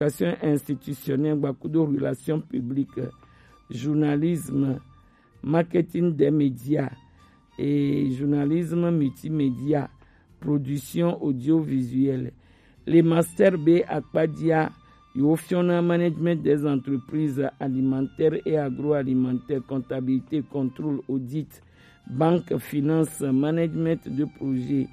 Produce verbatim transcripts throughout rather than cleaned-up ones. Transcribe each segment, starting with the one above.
communication institutionnelle, gbakudo relation publique, journalisme, marketing des médias et journalisme multimédia, production audiovisuelle. Le master B akpajia, yo fiona management des entreprises alimentaires et agroalimentaires, comptabilité, contrôle, audit, banque, finance, management de projet,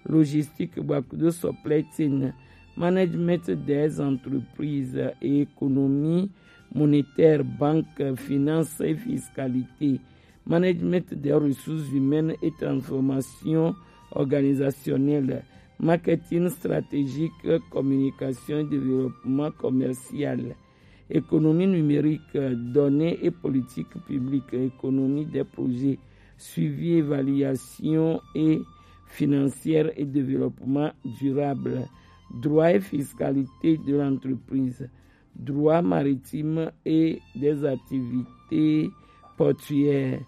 logistique, gbakudo supply chain, management des entreprises et économie monétaire, banque, finance et fiscalité, management des ressources humaines et transformation organisationnelle, marketing stratégique, communication et développement commercial, économie numérique, données et politique publique, économie des projets, suivi, évaluation et financière et développement durable, droit et fiscalité de l'entreprise, droit maritime et des activités portuaires,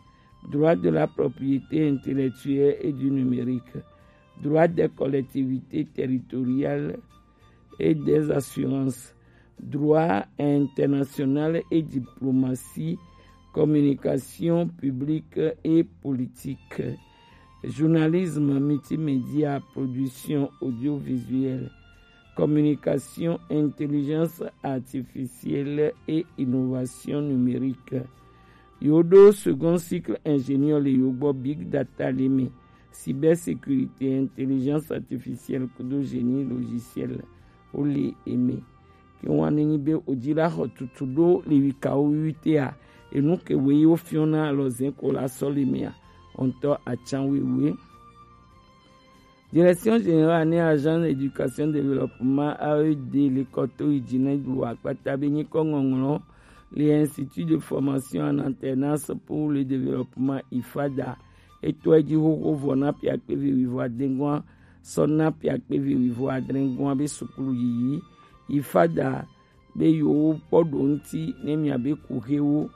droit de la propriété intellectuelle et du numérique, droit des collectivités territoriales et des assurances, droit international et diplomatie, communication publique et politique, journalisme multimédia, production audiovisuelle, communication, intelligence artificielle et innovation numérique. Yo ɖo second cycle ingénieur le yo gbɔ, big data le mɛ, cybersécurité, intelligence artificielle kudo génie logiciel wo le eme. Ke wan ne nyi be oji la xɔ tutu ɖo le wi kawo wiwi te a, enu ke we yo fiona alɔ zɛn ko la sɔ le mɛ a, ɔntɔ atsan wewe. Direction Générale ne Agence d'Éducation Développement, A E D, le kɔto yi dzi ne du akpata be nyikɔ ŋɔŋlɔ le Institut de Formation en Alternance pour le Développement, IFADA. Etɔ edzi xoxo vɔ na piakpe ve wivɔ adengua sɔ na piakpe ve wivɔ adrengua be sukulu yiyi. IFADA be yo kpɔ ɖo ŋuti ne mia be kuxewo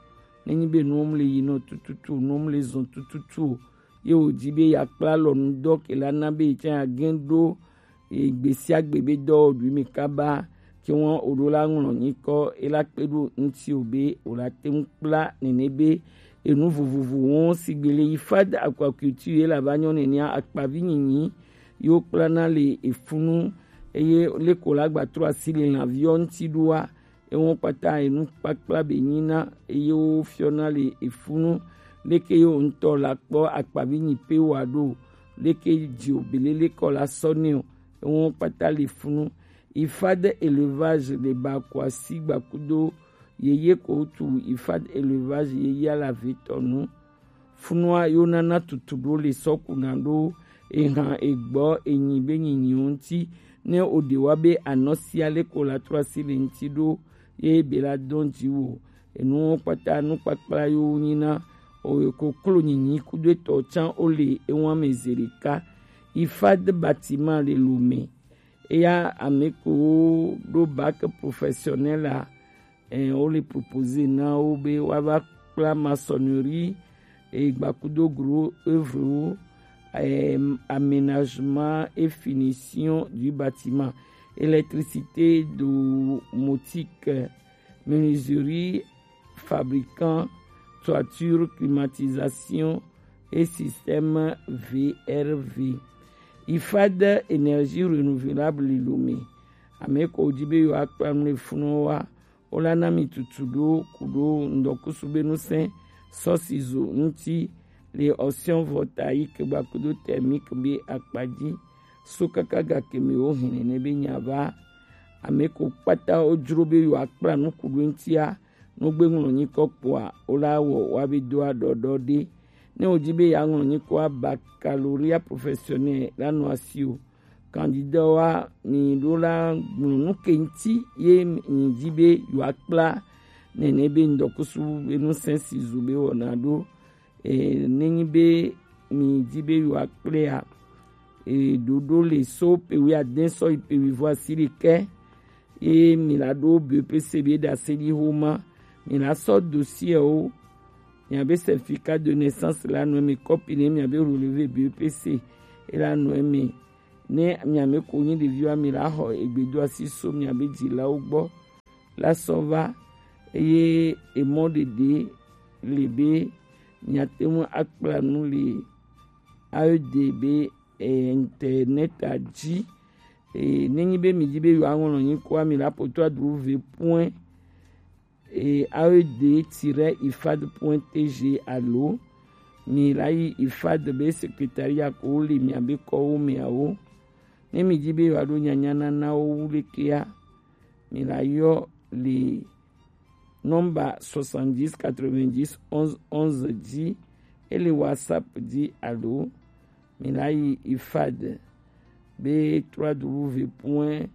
ne nyi be nuwom le yi nɔ tututu, nuwom le zɔn tututu o, ye wòdi be yeakpla alɔ nu dɔ ke la na be yetsã yeagẽ ɖo gbesiagbe be dɔwɔɖui me kaba, ke wan wòɖo la ŋlɔ nyikɔ ela kpe ɖo ŋuti o be wòla te ŋu kpla nene be enu vovovowo sigbe le IFAD aquaculture ye la va nyɔ nenea akpavi nyinyi yo kplana le efunu eye leko la gba trɔ asi le lãviɔ ŋuti ɖoa. Ewo kpata enu kpakpla be nyina eye wo fiɔna le efunu. Leke yo ŋutɔ la kpɔ akpavi nyi pe wa ɖo, leke dzi o belele kɔ la sɔ ne o. Ewo kpata le funu. IFAD élevage le ba kwasi gbakudo yeye ko tu IFAD élevage yeye ala vetɔ nu. Funua yo nana tutu ɖo le sɔ kuna ɖo ehan egbɔ enyi be nyinyiwo ŋuti. Ne o ɖe wa be anɔ sia leko la trɔ asi le ŋuti ɖo ye be la dɔn dzi wo. Enuwo kpata nukpakpla yo nyina o koklo nyinyi kudo etɔ tsan o le ewan me ze ɖeka. IFAD bâtiment le Lomé. Eya ame ko ɖo bac professionnel a, eh, wo le proposer na wo be wa va kpla maçonnerie, eh, gbakudo gros œuvre wo, eh, aménagement et finition du bâtiment, électricité, domotique, menuiserie, fabricant, toiture, climatisation et système V R V. IFAD énergie renouvelable le Lomé. Ame ko di be yo akpla nu le funu wa, o la na mi tutu ɖo kudo ŋdɔkusu be nusẽ sɔ si zo ŋuti le option voltaïque gbakudo thermique be akpa dzi. So kaka gake mi wo hɛn nene be nya va. Ame ko kpata wo dzro be yo akpla nu kudo ŋutia, nugbe ŋlɔ nyikɔ kpoa, wo la wɔ wa be doa ɖɔɖɔ ɖe. Ne wo di be ya ŋlɔ nyikɔ wa baccalauréat professionnel la nɔ asi o. Candidat wa mi ɖo la ŋlɔ nu ke ŋuti ye mi di be yo akpla nene be ŋdɔkusu be nusẽ si zu be wɔna ɖo. E, ne nyi be mi di be yo akplea, e, ɖoɖo le so pe wi adẽ sɔ yi pe wi vɔ asi ɖekɛ. Ye mi la ɖo B E P C be ɖase ɖi xoma. Mi la sɔ dossier wo. Mia be certificat de naissance la nɔ eme, copie ne mia be relevé B E P C e la nɔ eme. Ne mia me ko nyi ɖeviwa mi la xɔ egbe do asi so mia be dzilawo gbɔ. la sɔ va, eye emɔ ɖeɖe li be miate ŋu akpla nu li A E D be internet a dzi. E, nenyi be mi di be yewoaŋlɔ nyikɔa, mi la poto adru ve point, e, A E D tiret ifad point T G alo mi la yi ifad be secrétariat ko le mia be kɔwo meawo. Ne mi di be yewoaɖo nyanya nana wo wu lekea, mi la yɔ le nɔmba soixante-dix quatre-vingt-dix onze onze dzi, ele WhatsApp dzi alo mi la yi ifad be trois W point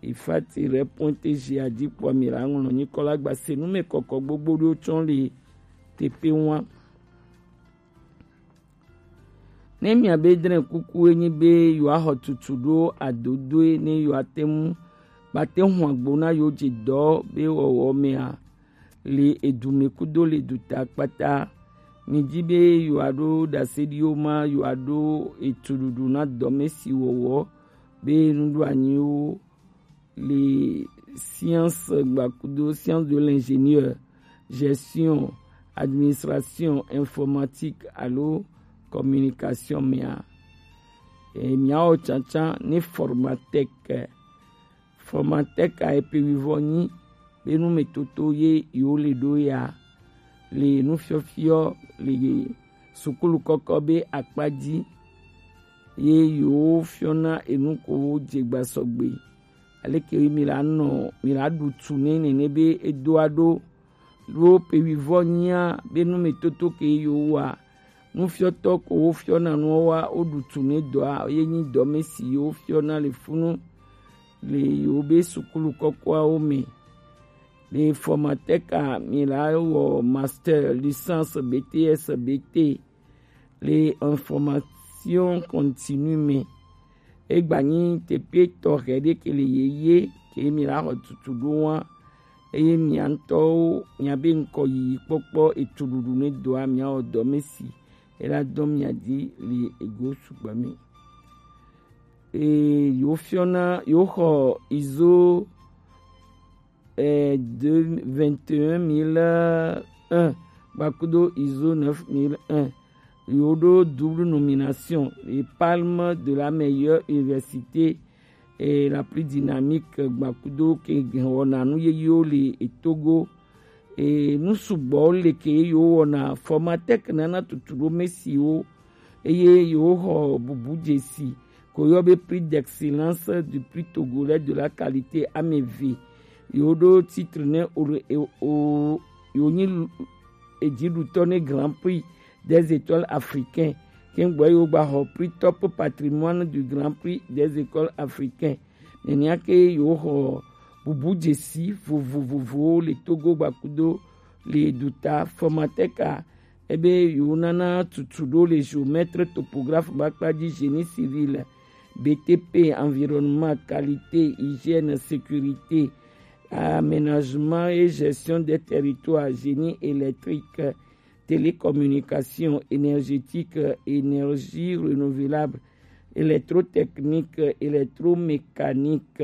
ifad tiret point T G a dzi kpɔa, mi la ŋlɔ nyikɔ la gba se nu me kɔkɔ gbogbo ɖo tsɔ le teƒe wa. Ne miabe dre kuku enyi be yewoaxɔ tutu ɖo adodoe ne yewoate ŋu bate ŋu agbo na yewo dze dɔ be wɔwɔ mea, le edume kudo le duta kpata. Midi be yewoaɖo ɖaseɖiwo ma, yewoaɖo etuɖuɖu na dɔme si wɔwɔ be nuɖoanyiwo le science gbakudo, science de l'ingénieur, gestion, administration, informatique alo communication mea. E, miawo tsatsa ne formatec, formatec a epe wivɔ nyi be numetoto ye yewo le ɖo ya le nufiɔfiɔ le sukulu kɔkɔ be akpa dzi, ye yewo fiɔna enu ko wo dze gba sɔgbe. Aleke mi la nɔ, mi la ɖu tu nɛ nene be edoa ɖo ɖo pe wivɔ nyia be numetoto ke yewo wa. Nufiɔtɔ ko wo fiɔna nuwo wa, wo ɖu tu ne dɔa, ye nyi dɔme si yewo fiɔna le funu le yewo be sukulu kɔkɔawo me. Le formatec a, mi la wɔ master, licence, B T S, B T, le information continue me. Egba nyi teƒe tɔxɛ ɖe ke le yeye ke mi la xɔ tutu ɖo wa, eye mia ŋutɔwo miabe ŋkɔ yiyi kpɔkpɔ etuɖuɖu ne doa miawɔ dɔme si ela dɔ mia dzi le ego sugbɔ me. Eye yewo fiɔna, yewo xɔ izo eh, deux, vingt et un mille un, gbakudo izo neuf mille un. Yewo ɖo double nomination, le palme de la meilleure université et la plus dynamique, gbakudo ke wɔna nu yeyewo le Togo. E, nu sugbɔ le ke yewo wɔna. Formatec nana tutu ɖo mesiwo, eye yewo xɔ bubu dzesi ko yɔ be prix d'excellence du prix togolais de la qualité ame eve. Yewo ɖo titre ne o, o, o yewo nyi lu- edziɖutɔ ne Grand Prix des Étoiles Africains. Ke gbɔ yewo gba xɔ prix top patrimoine du Grand Prix des Écoles Africains. Nenea ke yewo xɔ bubu dzesi vovovovowo le Togo gbakudo le duta. Formatec a, ebe yewo nana tutu ɖo le géomètre, topographe ba kpa dzi, génie civil, B T P, environnement, qualité, hygiène, sécurité, aménagement et gestion des territoires, génie électrique, télécommunication, énergétique, énergie renouvelable, électrotechnique, électromécanique,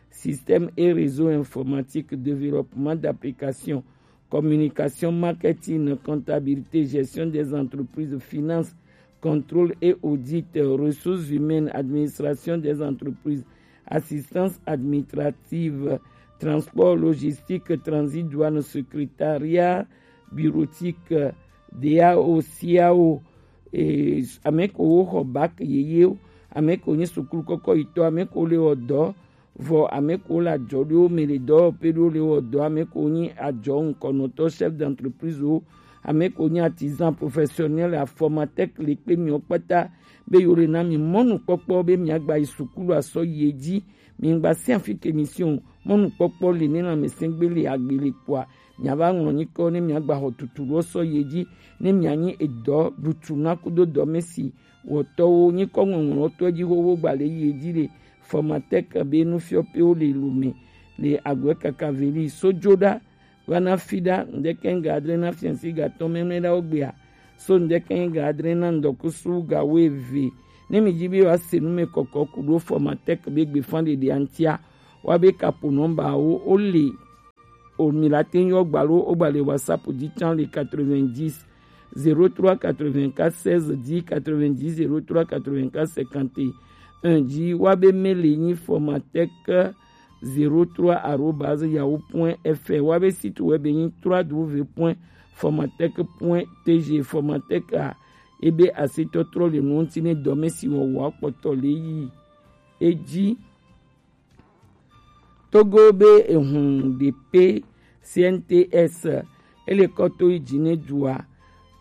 système et réseau informatique, développement d'applications, communication, marketing, comptabilité, gestion des entreprises, finance, contrôle et audit, ressources humaines, administration des entreprises, assistance administrative, transport, logistique, transit, douane, secrétariat bureautique, D A O, C A O, e, ame ko wo xɔ bac yeyewo, ame ko nyi sukulu kɔkɔ yitɔ, ame ko le wɔ dɔ, vɔ ame ko le ajɔ ɖewo me le dɔwɔƒe ɖewo le wɔ dɔ, ame ko nyi ajɔ ŋkɔnɔtɔ, chef d'entreprise wo, ame ko nyi artisan professionnel, Formatec le kpe miwo kpata, be yewo le na mi mɔnukpɔkpɔ be miagba yi sukulu asɔ yi edzi. Mi ŋgba se afi ke mi si o, mɔnukpɔkpɔ le ne lãmesẽgbe le agbe le kpɔa, miava ŋlɔ nyikɔ ne miagba xɔ tutu ɖo sɔ yi edzi, ne mianyi edɔ ɖutu na kudo dɔme si wɔtɔwo nyikɔ ŋɔŋlɔtɔ dzi xoxo gba le yi edzi le Formatec be nufiɔƒewo le lome le agbe kaka veli so dzo ɖa. Vana fi ɖa, ŋdeke ŋga adre na fiansi gatɔ mɛmlɛ ɖa wo gbea. So ŋdeke ŋga adre na ŋdɔkusu ga wo eve. Ne mi dzi be wa se nu me kɔkɔ ku ɖo Formatec be gbe fan ɖeɖe antia, wa be kapo nɔmba wo, wo le o mi la te yɔ gba lo o gba le WhatsApp ji can le quatre-vingt-dix zéro trois quatre-vingt-quatre seize dix quatre-vingt-dix zéro trois quatre-vingt-quatre cinquante et un ji wa be mail nyi formatec zéro trois arobase yahoo point F R wa be site web nyi trois W point formatec point T G formatec a ebe asetɔtrɔ le nu ŋuti ne dɔmesi wɔwɔ akpɔtɔ le yi eji. Togo be ehun ɖepe C N T S ele kɔ to yi dzi ne dua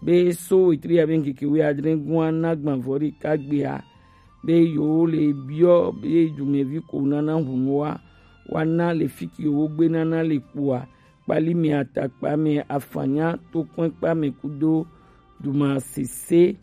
be so wetri ya be ŋkeke wuiadre gua na gbavɔ ɖeka gbea be yewo le biɔ be dumevi ko nana hunu wa wa na le fiki yewo gbe nana le kpoa kpali me atakpa me afanya to kɔn kpa me kudo duma sese.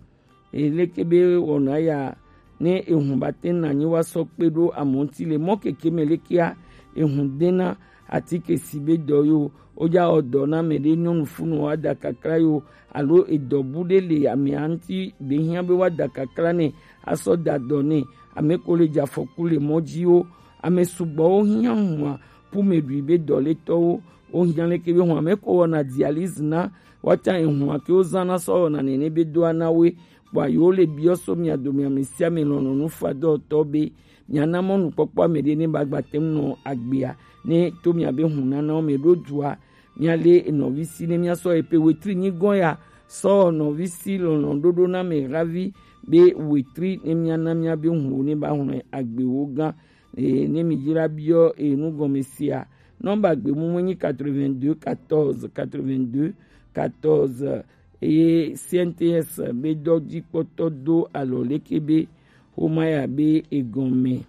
Eleke be wɔna ya ne ehun ba te na nyi wa sɔ kpe ɖo amɔ ŋuti le mɔ keke me lekea ehun dena atike si be dɔ yo o ja ɔ dɔ na mɛ ɖe nyɔnu funu wa da kakla yo alo edɔ bu ɖe le amea ŋuti be hiã be wa da kakla nɛ asɔ da dɔ nɛ ame ko le dza fɔku le mɔ dzi wo ame sugbɔ wo hiã hua pu me ɖui be dɔ le tɔ wo wo hiã leke be hua ame ko wɔna dialyse na wa ta ehun ake wo zã na sɔ wɔna nene be doa na wo Kpɔa yewo le biɔ so mia dome ame sia ame lɔlɔ̃nu fadɔtɔ be miana mɔnukpɔkpɔ ame ɖe ne ba gba te ŋu nɔ agbea ne to miabe hunanawo me ɖo dua miale enɔvi si ne miasɔ epe wetri nyigɔn ya sɔ nɔvi si lɔlɔ̃ ɖoɖo na me havi be wetri ne miana miabe hunwo ne ba hlɔ̃ agbewo gã. Eye ne mi dzra biɔ enu gɔme sia nɔmba gbemumu nyi quatre-vingt-deux quatorze quatre-vingt-deux quatorze. Eye C N T S be dɔdzikpɔtɔ do alɔ leke be xomaya be egɔme.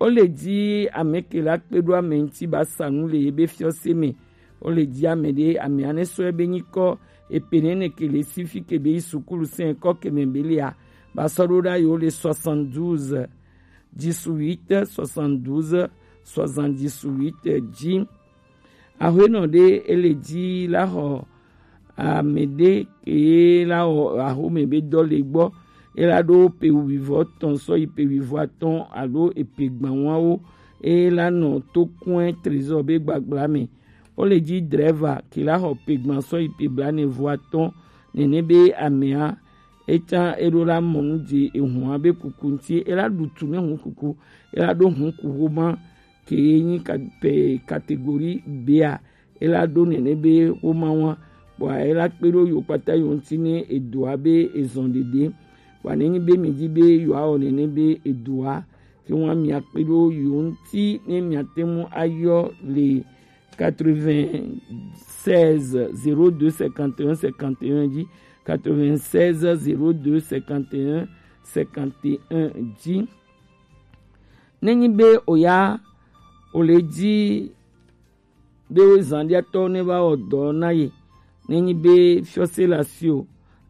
Wo le dzi ame ke la kpe ɖo ame ŋuti ba sa nu le yebe fiɔse me. Wo le dzi ame ɖe ame ane sɔ ebe nyikɔ epe nene ke le si fi ke be yi sukulu sɛn kɔ ke me be lia ba sɔ ɖo ɖa yo le soixante-douze dix-huit soixante-douze soixante-dix-huit dzi. Ahuenɔ ɖe ele dzi la xɔ ame ɖe ke la xɔ axome be dɔ le gbɔ ela ɖo pe wivɔ tɔn sɔ yi pe wivɔ atɔn alo epe gbanwawo ela nɔ to kɔn trésor be gbagbla me. Wo le dzi drɛva ke la xɔ pe gban sɔ yi pe blanɛ vo atɔn nene be amea eta eɖo la mɔ nu dze ehun abe kuku ŋuti ela ɖu tu ne hun kuku ela ɖo hun ku xoma ke ye nyi ka- pe- catégorie B a ela ɖo nene be woma wa kpɔa ela kpe ɖo yo kpata yo ŋuti ne edoa be ezɔn ɖeɖe kpɔa ne nyi be mi dzi be yo awɔ nene be edoa ke wa mia kpe ɖo yo ŋuti ne mia te ŋu ayɔ le quatre-vingt-seize zéro deux cinquante et un cinquante et un dzi quatre-vingt-seize zéro deux cinquante et un cinquante et un dzi. Nenyi be oya o le dzi be zandiatɔ ne va wɔ dɔ na ye. Nenyi be fiɔse la si o,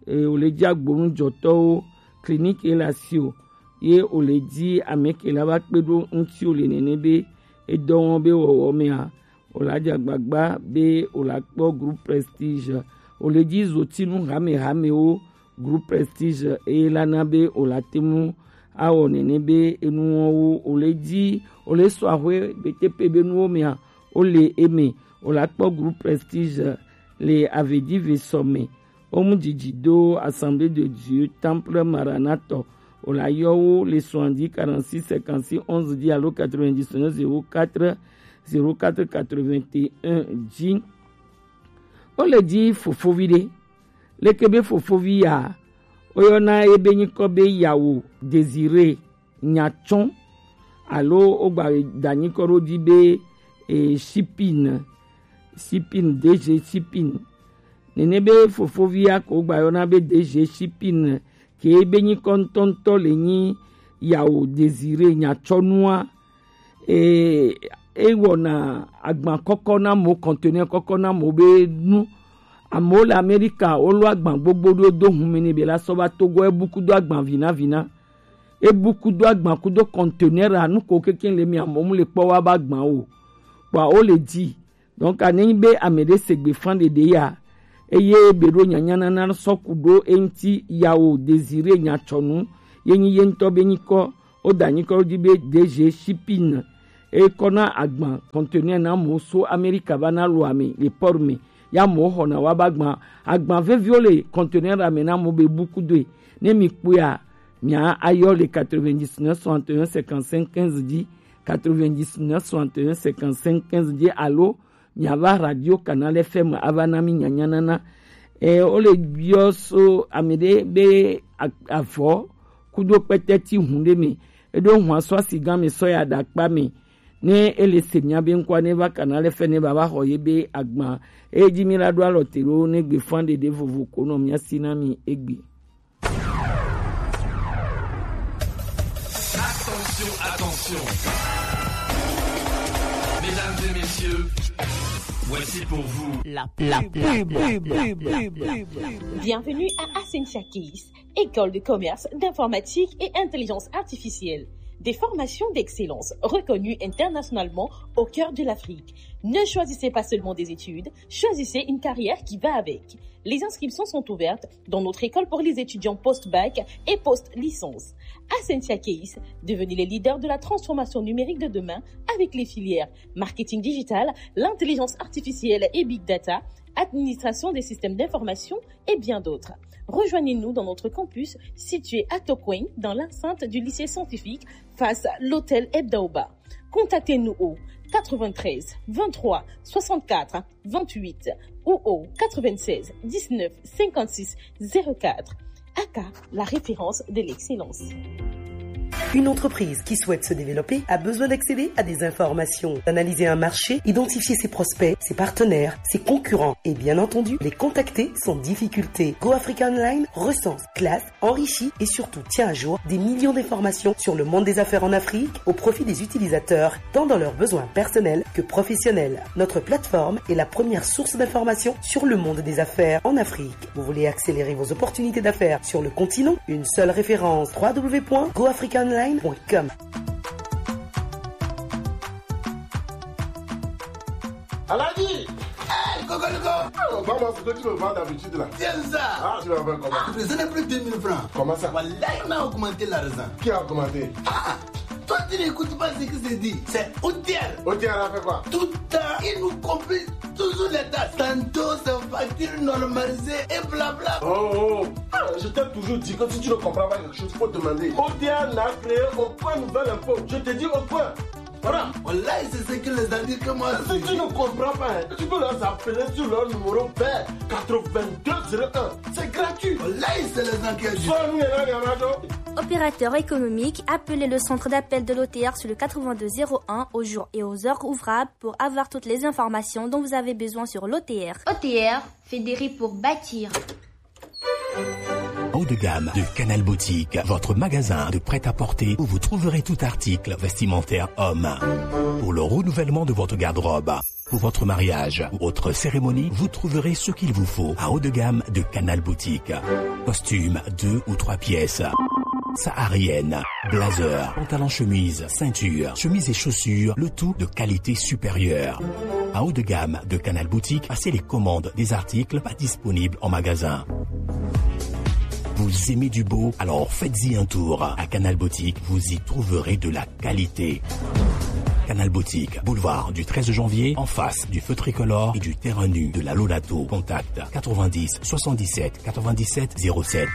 e, o le dzi agbonu jɔtɔwo, clinique la si o, ye o le dzi ame ke la va kpe ɖo ŋuti o le nene be edɔ wɔn be wɔwɔ mea, o la dze agbagba be o la kpɔ groupe Prestige. O le dzi zotinu hamehamewo groupe Prestige eye la na be o la te ŋu awɔ nene be enuwo o le dzi o le sɔ axwe betepe be nuwo mea o le eme o la kpɔ groupe Prestige le Avedive sɔ me. Wo mu dzidzi do Assemblée de Dieu Temple Maranatha. O la yɔ wo le soixante-dix quarante-six cinquante-six onze dix alo quatre-vingt-dix-neuf zéro quatre zéro quatre quatre-vingt-un dzi. Wo le dzi fofovi ɖe. Leke be fofovi ya? Wo yɔna ebe nyikɔ be Yawo Désiré Nyatsɔ alo wogba da nyikɔ ɖo dzi be e, Shipping, Shipping, D G Shipping. Nene be fofovia ko wogba yɔna be D G Shipping ke be nyikɔ ŋutɔŋutɔ le nyi Yawo Désiré Nyatsɔnua. E, ewɔna agban kɔkɔ na mo, conteneur kɔkɔ na mo be nu. Amewo le Amerika, wolɔ agban gbogbo ɖo do hun me ne be la sɔ va Togo ebu kudo agban vinavina. Ebu kudo agban kudo conteneur a nu ko keke le mi amewo mu le kpɔ wa ba agban o. Kpɔa wo le dzi. Donc ne nyi be ame ɖe se gbe fan ɖeɖe ya, eye be ɖo nyanya nana sɔ ku ɖo eŋti Yawo Désiré Nyatsɔnu ye nyi ye ŋutɔ be nyikɔ, wo da nyikɔ ɖo dzi be D G Shipping. E kɔ na agban conteneur na mo so Amerika va na lo ame le port me. Ya mo xɔ na wa ba agban, agban veviwo le conteneur ame na mo be bu kudo e. Ne mi kpɔe a, mia ayɔ le quatre-vingt-dix-neuf soixante et un cinquante-cinq quinze dzi, quatre-vingt-dix-neuf soixante et un cinquante-cinq quinze dzi alo mia va Radio Canal F M ava na mi nyanya nana. E, wo le biɔ so ame ɖe be a-, avɔ kudo kpɛtɛ ti hun ɖe me. Eɖo hun aso asi gan me sɔ ya ɖe akpa me. Ne ele se mia be ŋkɔa ne va Canal F M ne baba xɔ ye be agban. Eyi dzi mi la ɖo alɔ te ɖo ne gbe fan ɖeɖe vovo ko nɔ mia si na mi egbe. Attention, attention. Mesdames et messieurs, voici pour vous la, la pub. Bienvenue à Ascensia Case, école de commerce, d'informatique et intelligence artificielle. Des formations d'excellence reconnues internationalement au cœur de l'Afrique. Ne choisissez pas seulement des études, choisissez une carrière qui va avec. Les inscriptions sont ouvertes dans notre école pour les étudiants post-bac et post-licence. Ascensia Case, devenez les leaders de la transformation numérique de demain avec les filières marketing digital, l'intelligence artificielle et big data, administration des systèmes d'information et bien d'autres. Rejoignez-nous dans notre campus situé à Tokweng, dans l'enceinte du lycée scientifique, face à l'hôtel Ebdaoba. Contactez-nous au quatre-vingt-treize vingt-trois soixante-quatre vingt-huit ou au quatre-vingt-seize dix-neuf cinquante-six zéro quatre. A K, la référence de l'excellence. Une entreprise qui souhaite se développer a besoin d'accéder à des informations, d'analyser un marché, identifier ses prospects, ses partenaires, ses concurrents et bien entendu les contacter sans difficulté. Go Africa Online recense, classe, enrichit et surtout tient à jour des millions d'informations sur le monde des affaires en Afrique au profit des utilisateurs, tant dans leurs besoins personnels que professionnels. Notre plateforme est la première source d'information sur le monde des affaires en Afrique. Vous voulez accélérer vos opportunités d'affaires sur le continent ? Une seule référence, trois W point go africa online point com. Aladi! Eh, Kokoliko! Oh, bah, moi, ce que tu me vends d'habitude là. Tiens ça! Ah, tu vas faire comment? Ah, mais ce n'est plus deux mille francs. Comment ça? Wallahi, on a augmenté l'argent. Qui a augmenté? Ah, toi, tu n'écoutes pas ce qui se dit. C'est O T R. O T R a fait quoi? Tout le temps, il nous complique toujours les tâches. Tantôt, c'est facture normalisée et blabla. Oh, oh. Ah, je t'ai toujours dit que si tu ne comprends pas quelque chose, faut demander. O T R n'a créé aucun nouvel impôt. Je te dis aucun. Voilà. Wallahi, c'est ce que les gens disent que moi aussi. Si tu ne comprends pas, hein, tu peux leur appeler sur leur numéro vert quatre-vingt-deux zéro un. C'est gratuit. Wallahi, c'est les gens qui ont dit. Opérateur économique, appelez le centre d'appel de l'O T R sur le quatre-vingt-deux zéro un au jour et aux heures ouvrables pour avoir toutes les informations dont vous avez besoin sur l'O T R. O T R, fédéré pour bâtir. Haut de gamme de Canal Boutique, votre magasin de prêt-à-porter où vous trouverez tout article vestimentaire homme. Pour le renouvellement de votre garde-robe, pour votre mariage ou autre cérémonie, vous trouverez ce qu'il vous faut à Haut de gamme de Canal Boutique. Costume deux ou trois pièces, saharienne, blazer, pantalon chemise, ceinture, chemise et chaussures, le tout de qualité supérieure. À Haut de gamme de Canal Boutique, passez les commandes des articles pas disponibles en magasin. Vous aimez du beau? Alors faites-y un tour. À Canal Boutique, vous y trouverez de la qualité. Canal Boutique, boulevard du treize janvier, en face du feu tricolore et du terrain nu de la Lolato. Contact quatre-vingt-dix soixante-dix-sept quatre-vingt-dix-sept zéro sept.